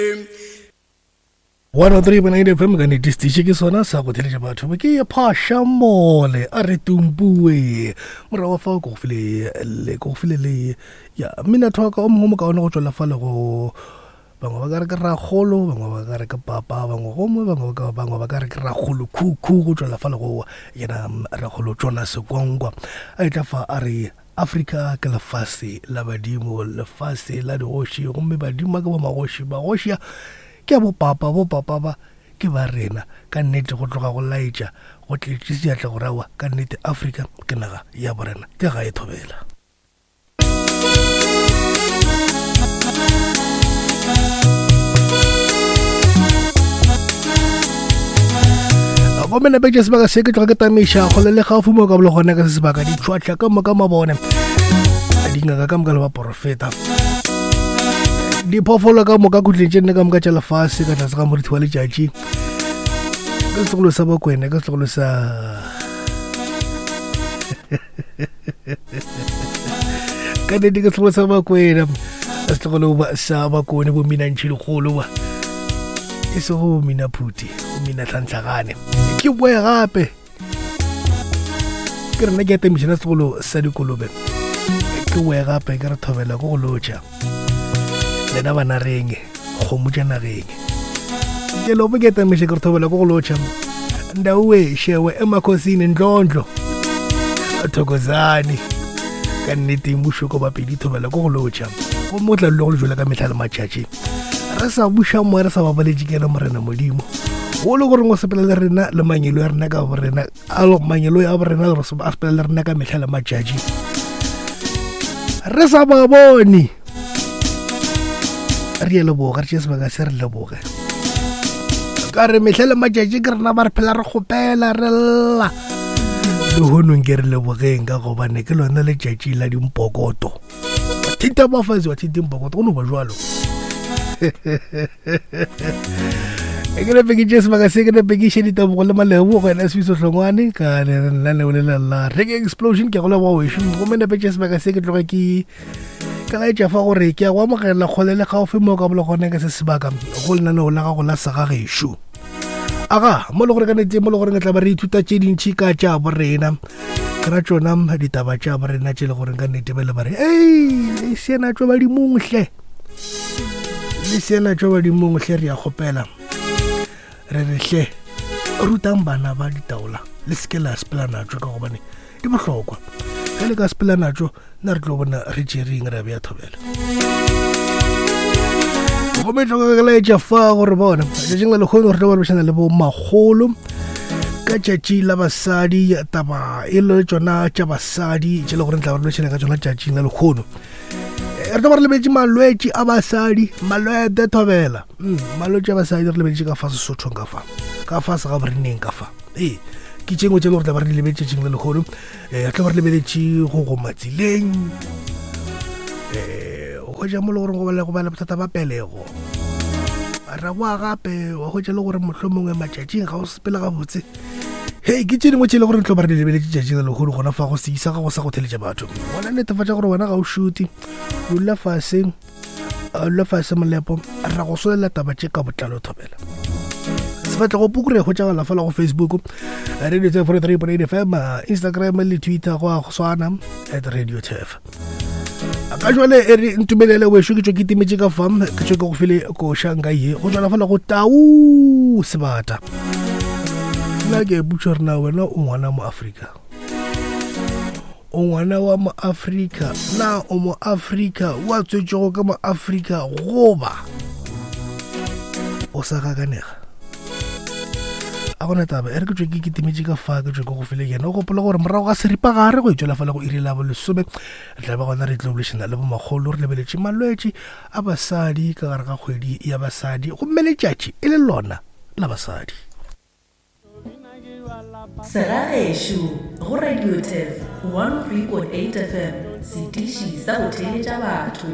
103.9 FM ka nnete setiši ke sona sa go theletša batho ke ye phasha mole a re tumpue morago fa ko go file le ko go file le ya mmina thoka o mongwe mo kaone go tšwela fa le go bangwe ba ka re ke ragolo bangwe ba ka re ke papa bangwe gomwe bangwe ba bangwe ba ka re ke ragolo khukhu go tšwela fa le go yena ragolo Jonas Gwangwa a etla fa a re Afrika ke lefase la badimo, lefase la digoši, gomme badimo ba ke bomagoši, magoši a ke a bopapa, bopapa ba ke ba rena. Ka nnete go tloga go laetša go tletše seatla gore aowa, ka nnete Afrika ke naga ya borena, ke gae thobela. Gomme nape tše sebaka se ke tloga ke tamiša kgole le gaufi mo ka bolo gona ka se sebaka ditšhwatlha ka moka mabone dingaka ka moka le baporofeta diphoofolo ka moka khutleng tše nne ka moka tša lefase ka tlase ga morithi wa letšatši ka setlogolo sa bakwene ka setlogolo sa ka nnete ke setlogolo sa bakwena setlogolo sa bakone bo minantšhi lekgolo ba e sego bo mina phuti bo mina tlhantlhagane ke boe gape ke rena ke atemišana setlogolo sa dikolobe ke boe gape ke re thobela ko go lotšha lena bana reng kgomo tša nageng ke lopo ke tamiše ke re thobela ko go lotšha ndaue šewe emakhosini ndlondlo thokozane ka nnete mmušo ko bapedi thobela ko go lotšha gomme o tla dula go le jwela ka mehla le matšatši re sa buša moya re sa babaletše ke ena morena modimo o le goreng o sepela le rena le mangelo ya rena ka borena a mangelo ya borena a sepela le rena ka mehla le matšatši re sa ba bone re ye leboga re tšee sebaka se re leboge ka re mehla le matšatši ke rena ba re phela re kgopela re lla lehonong ke re lebogeng ka gobane ke lona letšatši la dimpokoto thinta bafazi wa thinta impokoto go no ba jalo e ke nepe ke tše sebaka se ke nepe ke iše ditebogo le malebo go ena sebiso hlongwane ka lenaneo le la reggae explosion ke go leboga wešo gomme nepe tše sebaka se ke tloge ke ka laetša fa gore ke ya go amogela kgole le gaufi mo ka bolo gone ka se sebaka go lenaneo la gago la segagešo aga mo le gore ka nete mo le gore tla ba re ithuta tše dintšhi ka tša borena ke ra tšona ditaba tša borena tše le gore ka nnete ba le ba re ei le sena tšo badimong hle le sena tšo badimong hle re ya kgopela re re hle rutang bana ba ditaola le seke la sepela natšo ka gobane di bohlokwa ge le ka sepela natšo nna re tlo bona re tšereng re bea thobela gomme tloka ke laetša fa gore bona tšatšing la lekgono re tlo ba lebošana le bo makgolo ka tšatši la basadi taba e le tšona tša basadi tše le gore tla ba re ka tšona tšatšing la lekgono eh, re tlo ba re lebetše malwetši a basadi malwete thobela mm, malwetši a basadi re lebetše ka fa sesothong ka fa ka fa se ga boreneng ka fa ee ke tše ngwe tše le gore tla ba re di lebetše tšatšing la lekgono um re tla ba re lebeletše go goma tseleng um o hwetša mo le gore go ba le bothata ba pelego ra boa gape wa hwetša le gore mohlho mongwe matšatšing ga o sepele gabotse hei ke tše dingwe tše e le gore tlo ba re di lebeletše tšatšing la lehono gona fa go seisa ga go sa go theletša batho gona netefatša gore wena ga o šute dula fase dula fase molepo ra go solela taba tše ka botlalo thobela sefatlego puku re hwetšagala fela go facebook radio tf 3.8 fm instagram le twitter go a go swana at radio tf ka jwale e re ntumelele wešo ke tšwe ke timetše ka fa ke tšwe ke go file koša nka ye go tšwala fela go tau sebata nna ke butša rena wena o ngwana mo afrika o ngwana wa moafrika na o moafrika wa tswetšego ka moafrika goba o sa gakanega a gona taba e re ke tswe ke ketimetše ka fa ke tswe ke go file yena o gopola gore morago ga seripagare go etswela fela go iri la bolesome re tla ba gona re tlo bolešana le bomakgolo re lebeletše malwetši a basadi ka gare ga kgwedi ya basadi gomme letšatši e le lona la basadi Segagešo go Radio Turf 103.8 FM, setiši sa go theeletša batho.